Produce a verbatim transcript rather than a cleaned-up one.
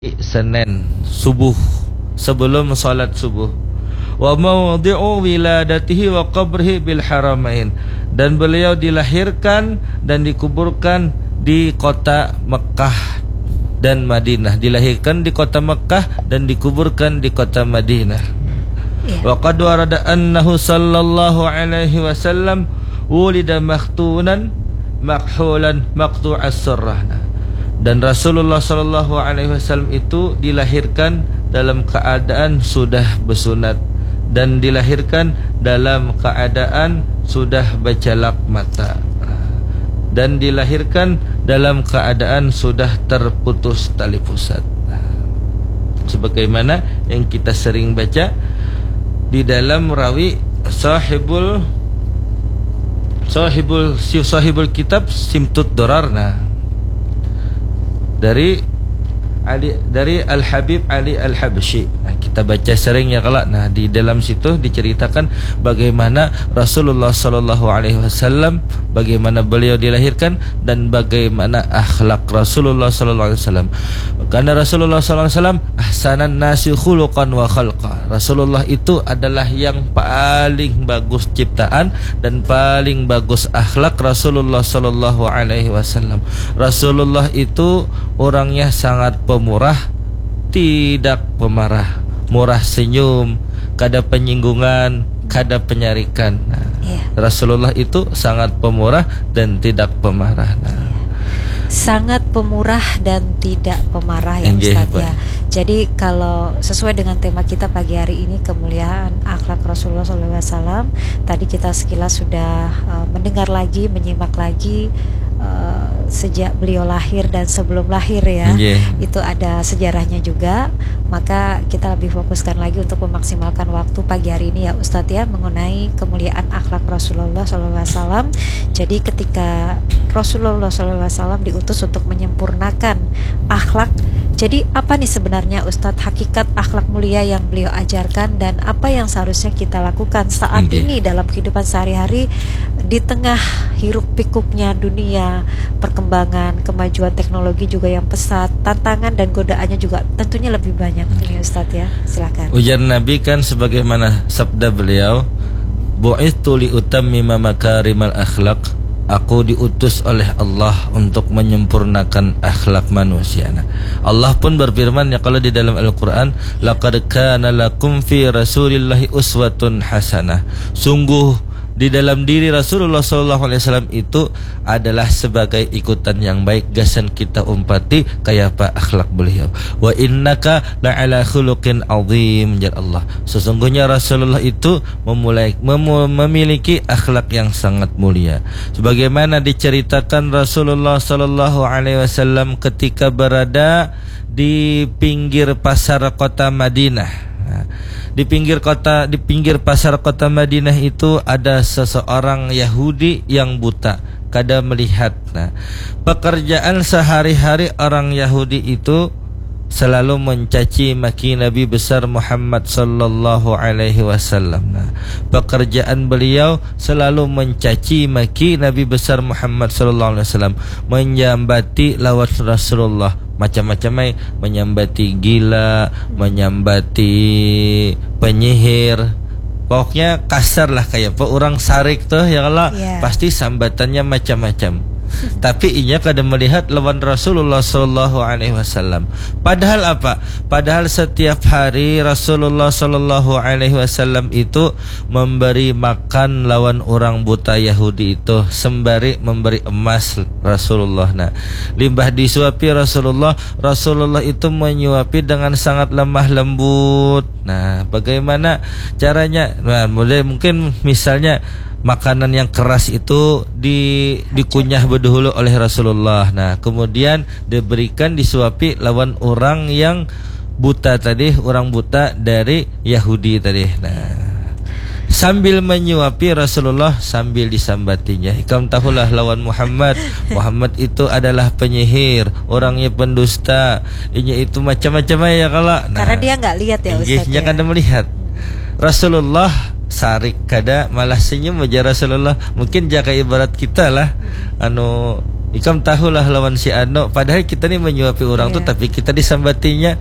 Senin subuh, sebelum salat subuh. Wa mawdi'u wiladatihi wa qabrihi bil haramain, dan beliau dilahirkan dan dikuburkan di kota Mekah dan Madinah. Dilahirkan di kota Mekah dan dikuburkan di kota Madinah. Iya. Wa qad warada annahu sallallahu alaihi wasallam wulida makhtunan makhulan maqtu'as surrah. Nah, dan Rasulullah sallallahu alaihi wasallam itu dilahirkan dalam keadaan sudah besunat dan dilahirkan dalam keadaan sudah becelak mata dan dilahirkan dalam keadaan sudah terputus tali pusat. Nah, sebagaimana yang kita sering baca di dalam rawi sahibul sahibul si sahibul kitab Simtud Dorar, nah, dari Ali, dari Al Habib Ali Al Habsyi. Nah, kita baca sering ya kala. Nah, di dalam situ diceritakan bagaimana Rasulullah Shallallahu Alaihi Wasallam, bagaimana beliau dilahirkan dan bagaimana akhlak Rasulullah Shallallahu Alaihi Wasallam. Karena Rasulullah Shallallahu Alaihi Wasallam ahsanan nasi khuluqan wa khalqa. Rasulullah itu adalah yang paling bagus ciptaan dan paling bagus akhlak Rasulullah Shallallahu Alaihi Wasallam. Rasulullah itu orangnya sangat pemurah, tidak pemarah, murah senyum, kada penyinggungan, kada penyarikan. Nah, iya. Rasulullah itu sangat pemurah dan tidak pemarah. Nah. Iya. Sangat pemurah dan tidak pemarah ya, Ustadz, ya. Jadi kalau sesuai dengan tema kita pagi hari ini, kemuliaan akhlak Rasulullah shallallahu alaihi wasallam, tadi kita sekilas sudah uh, mendengar lagi, menyimak lagi uh, sejak beliau lahir dan sebelum lahir ya. Itu ada sejarahnya juga. Maka kita lebih fokuskan lagi untuk memaksimalkan waktu pagi hari ini ya, Ustadz, ya, mengenai kemuliaan akhlak Rasulullah shallallahu alaihi wasallam. Jadi ketika Rasulullah shallallahu alaihi wasallam diutus untuk menyempurnakan akhlak, jadi apa nih sebenarnya, Ustadz, hakikat akhlak mulia yang beliau ajarkan dan apa yang seharusnya kita lakukan saat ini dalam kehidupan sehari-hari di tengah hiruk pikuknya dunia, perkembangan, kemajuan teknologi juga yang pesat, tantangan dan godaannya juga tentunya lebih banyak nih, Ustadz, ya. Silakan. Ujar Nabi kan sebagaimana sabda beliau, "Bu'ithu li utammima makarimal akhlak." Aku diutus oleh Allah untuk menyempurnakan akhlak manusia. Nah, Allah pun berfirman ya kalau di dalam Al-Quran, "Laqad kana lakum fi Rasulillahi uswatun hasanah." Sungguh di dalam diri Rasulullah Shallallahu Alaihi Wasallam itu adalah sebagai ikutan yang baik, gasan kita umpati kayapa akhlak beliau. "Wa innaka la'ala khuluqin azim," jar Allah. Sesungguhnya Rasulullah itu memulai memu, memiliki akhlak yang sangat mulia. Sebagaimana diceritakan Rasulullah Shallallahu Alaihi Wasallam ketika berada di pinggir pasar kota Madinah. Nah, di pinggir kota, di pinggir pasar kota Madinah itu ada seseorang Yahudi yang buta, kada melihat. Nah, pekerjaan sehari-hari orang Yahudi itu selalu mencaci maki Nabi besar Muhammad sallallahu alaihi wasallam. Nah, pekerjaan beliau selalu mencaci maki Nabi besar Muhammad sallallahu alaihi wasallam, menyambati lawan Rasulullah macam-macam ai, menyambati gila, menyambati penyihir. Pokoknya kasar lah, kayak apa orang sarik tuh ya kalau pasti sambatannya macam-macam. Tapi inya kada melihat lawan Rasulullah Shallallahu Alaihi Wasallam. Padahal apa? Padahal setiap hari Rasulullah Shallallahu Alaihi Wasallam itu memberi makan lawan orang buta Yahudi itu sembari memberi emas Rasulullah. Nah, limbah disuapi Rasulullah, Rasulullah itu menyuapi dengan sangat lemah lembut. Nah, bagaimana caranya? Nah, mulai mungkin misalnya makanan yang keras itu di dikunyah bedahulu oleh Rasulullah. Nah, kemudian diberikan disuapi lawan orang yang buta tadi, orang buta dari Yahudi tadi. Nah, sambil menyuapi Rasulullah sambil disambatinya, "Ikam tahulah lawan Muhammad. Muhammad itu adalah penyihir, orangnya pendusta, inya itu macam-macam ya kalau." Nah, karena dia nggak lihat ya, Ustaz, ya. Kada melihat. Rasulullah sarik kada, malah senyum aja Rasulullah. Mungkin jaka ibarat kita lah, anu, Ikam tahulah lawan si Ano, padahal kita nih menyuapi orang tuh, Iya. Tapi kita disambatinya,